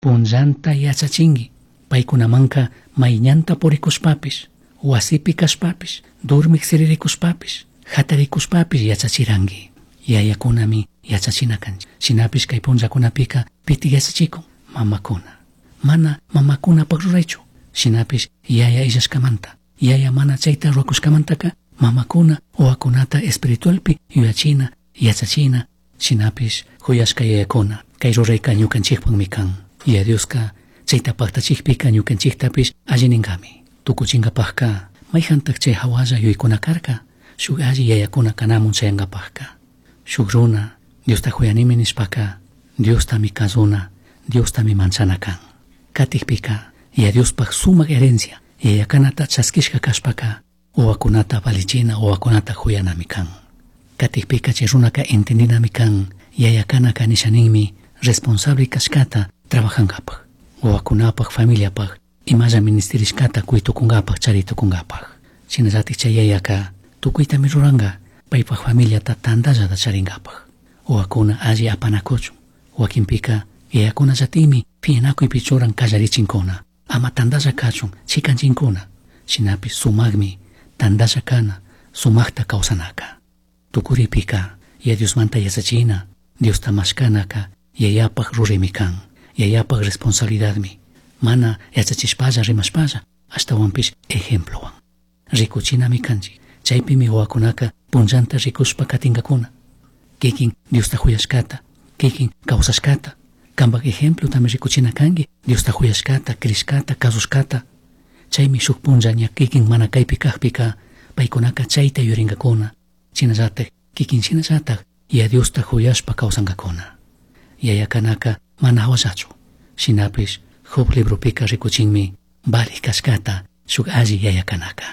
Punllanta yachachinki. Paykunamanka mayñanta purikushpapish, wasipi kashpapish, dormik siririkushpapish, hatarikushpapish yachachiranki. Yayakunami yachachina kanchik. Shinapish kay punllakunapika pitik yachachikun? Mamakuna. Mana mamakunapak ruraychu. Shinapish yaya illashkamanta, yaya mana chayta rurakushkamantaka mamakuna wawakunata espiritualpi yuyachina, yachachina, shinapish huyashka yayakuna kay rurayka ñukanchikpakmi kan. Yaya Dioska chayta paktachikpika ñukanchiktapish alli ninkami. Tukuchinkapakka mayjantak chay hawalla yuyaykuna karka shuk alli yayakuna kanamun chayankapakka. Shuk runa Diosta huyanimi nishpaka Diostami kazuna, Diostami manchana kan. Katikpika Yaya Diospak sumak herencia yayakanata chaskishka kashpaka wawakunata valichina, wawakunata huyanami kan. Katikpika chay runaka entendinami kan yayakanaka nishaninmi responsable kashkata trabajankapak, wawakunapak, familiapak, imalla ministerishkata kuytukunkapak, charitukunkapak. Shinallatik chay yayaka tukuytami ruranka paypak familiata tantallata charinkapak. Wawakuna alli apanakuchun. Wakinpika yayakunallatikmi piñanakuypi churan kallarichinkuna, ama tantalla kachun chikanchinkuna. Shinapish sumakmi tantalla kana, sumakta kawsanaka. Tukuripika Yaya Diosmanta yachachina, Diosta mashkanaka yayapak ruraymi kan, yayapak responsabilidadmi. Mana yachachishpalla rimashpalla, ashtawanpish ejemplowan. Rikuchinami kanchik, chaypimi wawakunaka punllanta rikushpa katinkakuna. Kikin Diosta huyashkata, kikin kawsashkata, kanpak ejemplotami rikuchina kanki, Diosta huyashkata, crishkata, kasushkata. Chaymi shuk punlla ña kikin mana kaypi kakpika, paykunaka chayta yuyarinkakuna. Shinallatak, kikin shinallatak, Yaya Diosta huyashpa kawsankakuna. Yayakanaka mana hawallachu. Shinapish Job libropika rikuchinmi valij kashkata shuk alli yayakanaka.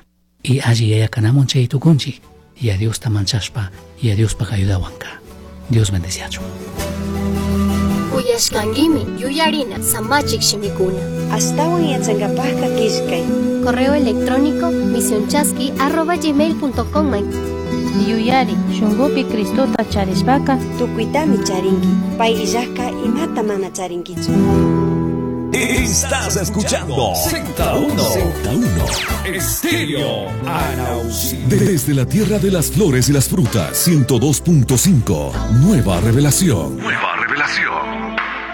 Y alli yayakanamun chay tukunchik, Yaya Diosta manchashpa, Yaya Diospak ayudawanka. Dios bendeciachun. Uyashkankimi yuyarina samachik shimikuna. Ashtawan yachankapakka killkay. Correo electrónico misionchaski@gmail.com. Yuyari, shunkupi Cristota charishpaka tukuytami charinki. Pay illajka imata mana charinkichu. Estás escuchando Z1 Z1 Estéreo Anausi. Desde la tierra de las flores y las frutas, 102.5. Nueva revelación. Nueva revelación.